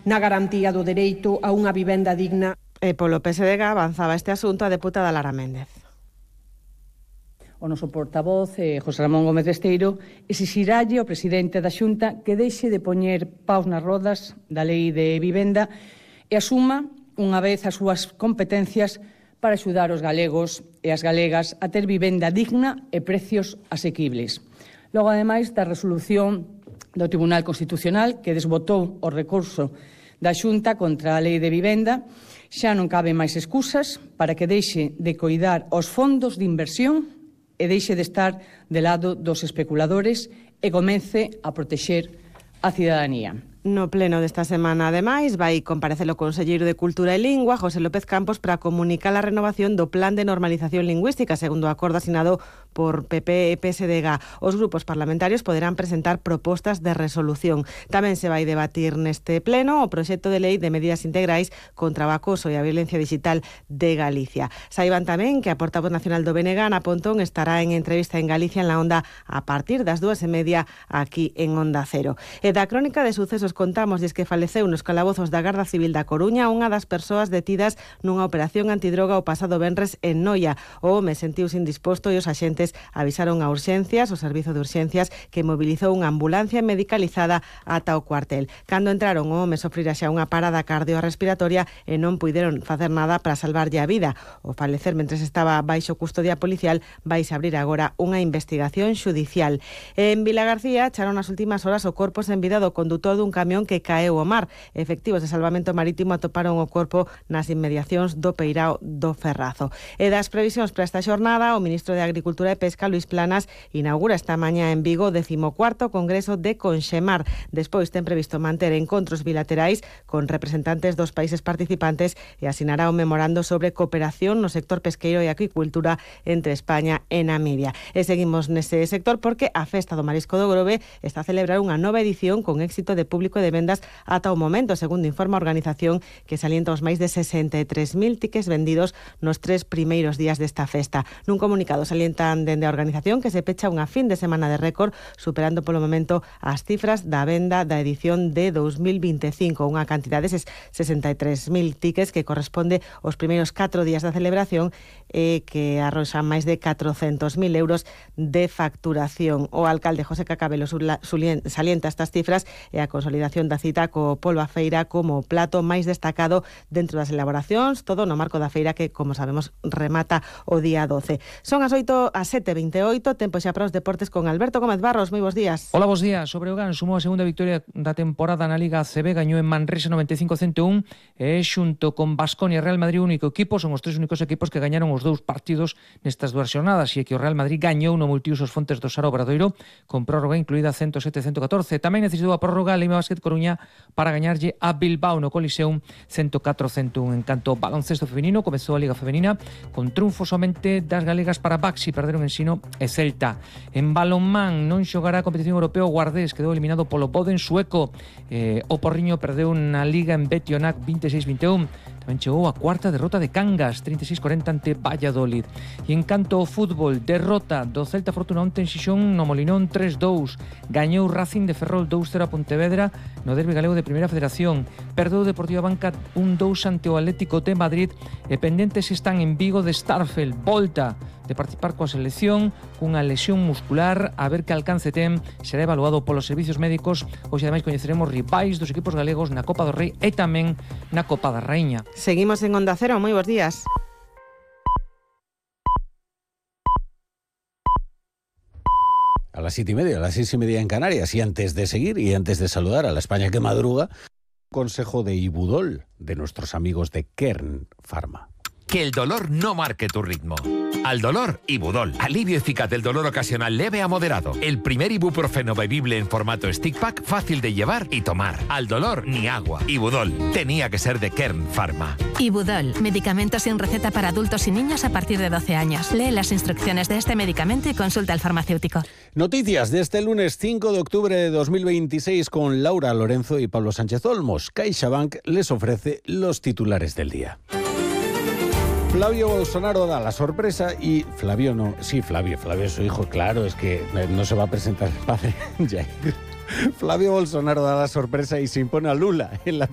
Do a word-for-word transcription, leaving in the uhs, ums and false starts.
na garantía do dereito a unha vivenda digna. E polo P S D G avanzaba este asunto a deputada Lara Méndez. O noso portavoz, eh, José Ramón Gómez Besteiro, exixiralle ao presidente da Xunta que deixe de poñer paus nas rodas da lei de vivenda e asuma unha vez as súas competencias para axudar os galegos e as galegas a ter vivenda digna e precios asequibles. Logo, ademais, da resolución do Tribunal Constitucional que desbotou o recurso da Xunta contra a lei de vivenda, xa non caben máis excusas para que deixe de coidar os fondos de inversión e deixe de estar de lado dos especuladores e comece a protexer a cidadanía. No pleno desta semana, ademais, vai comparecer o conselleiro de Cultura e Lingua, José López Campos, para comunicar a renovación do Plan de Normalización Lingüística, segundo o acordo asinado por P P e P S D G. Os grupos parlamentarios poderán presentar propostas de resolución. Tamén se vai debatir neste pleno o proxecto de lei de medidas integrais contra o acoso e a violencia digital de Galicia. Saiban tamén que a portavoz nacional do B N G, Ana Pontón, estará en entrevista en Galicia en la Onda a partir das dúas e media aquí en Onda Cero. E da crónica de sucesos contamos que faleceu nos calabozos da Garda Civil da Coruña unha das persoas detidas nunha operación antidroga o pasado venres en Noia. O home sentiuse indisposto e os axentes avisaron a urxencias, o servizo de urxencias, que mobilizou unha ambulancia medicalizada ata o cuartel. Cando entraron, o home sofrira xa unha parada cardiorrespiratoria e non puideron facer nada para salvarlle a vida. O falecer mentres estaba baixo custodia policial vais abrir agora unha investigación xudicial. En Vilagarcía echaron nas últimas horas o corpo sen vida do condutor dun camión que caeu ao mar. Efectivos de salvamento marítimo atoparon o corpo nas inmediacións do peirao do Ferrazo. E das previsións para esta xornada, o ministro de Agricultura e Pesca, Luís Planas, inaugura esta mañá en Vigo o decimocuarto Congreso de Conxemar. Despois ten previsto manter encontros bilaterais con representantes dos países participantes e asinará un memorando sobre cooperación no sector pesqueiro e acuicultura entre España e Namibia. E seguimos nese sector porque a Festa do Marisco do Grove está a celebrar unha nova edición con éxito de público de vendas ata o momento, segundo informa a organización, que salienta os máis de sesenta e tres mil tickets vendidos nos tres primeiros días desta festa. Nun comunicado salientan dende a organización que se pecha unha fin de semana de récord, superando polo momento as cifras da venda da edición de dous mil vinte e cinco, unha cantidade de sesenta e tres mil tickets que corresponde aos primeiros catro días da celebración e que arroxan máis de catrocentos mil euros de facturación. O alcalde José Cacabelo salienta estas cifras e a consolidación da cita co polvo a feira como o plato máis destacado dentro das elaboracións, todo no marco da feira que, como sabemos, remata o día doce. Son as oito, as sete e vinte e oito, tempo xa para os deportes con Alberto Gómez Barros. Moi bons días. Hola, bons días. Sobre o Gan sumou a segunda victoria da temporada na Liga A C B, gañou en Manresa noventa e cinco a cento un e xunto con Baskonia e Real Madrid o único equipo, son os tres únicos equipos que gañaron os dous partidos nestas dúas xornadas, e que o Real Madrid gañou no multiusos Fontes do Sar Obradoiro con prórroga incluída cento sete a cento catorce. Tamén necesitou a prórroga a Lima Basket Coruña para gañarlle a Bilbao no Coliseum cento catro a cento un. En canto ao baloncesto feminino, comezou a Liga Femenina con triunfo somente das galegas para Baxi, perderon Ensino e Celta. En balonmán non xogará a competición europea, o Guardés quedou eliminado polo Boden sueco. Eh, o Porriño perdeu na Liga en Betionac vinte e seis a vinte e un. Tamén chegou a cuarta derrota de Cangas, trinta e seis a cuarenta ante Valladolid. E en canto ao fútbol, derrota do Celta Fortuna onte en Xixón no Molinón tres dous. Gañou Racing de Ferrol dous cero a Pontevedra no derbi galego de Primeira Federación. Perdeu Deportiva Banca un dous ante o Atlético de Madrid e pendentes están en Vigo de Starfel. Volta de participar coa selección cunha lesión muscular, a ver que alcance ten, será evaluado polos servicios médicos. Hoxe ademais coñeceremos rivais dos equipos galegos na Copa do Rei e tamén na Copa da Raíña. Seguimos en Onda Cero, moi bons días. A las siete y media, a las seis y media en Canarias. Y antes de seguir y antes de saludar a la España que madruga, consejo de Ibudol, de nuestros amigos de Kern Pharma. Que el dolor no marque tu ritmo. Al dolor, Ibudol. Alivio eficaz del dolor ocasional leve a moderado. El primer ibuprofeno bebible en formato stick pack, fácil de llevar y tomar. Al dolor, ni agua. Ibudol. Tenía que ser de Kern Pharma. Ibudol. Medicamento sin receta para adultos y niños a partir de doce años. Lee las instrucciones de este medicamento y consulta al farmacéutico. Noticias de este lunes cinco de octubre de dos mil veintiséis con Laura Lorenzo y Pablo Sánchez Olmos. CaixaBank les ofrece los titulares del día. Flavio Bolsonaro da la sorpresa y Flavio no, sí, Flavio, Flavio es su hijo, claro, es que no se va a presentar el padre, Jair. Flavio Bolsonaro da la sorpresa y se impone a Lula en la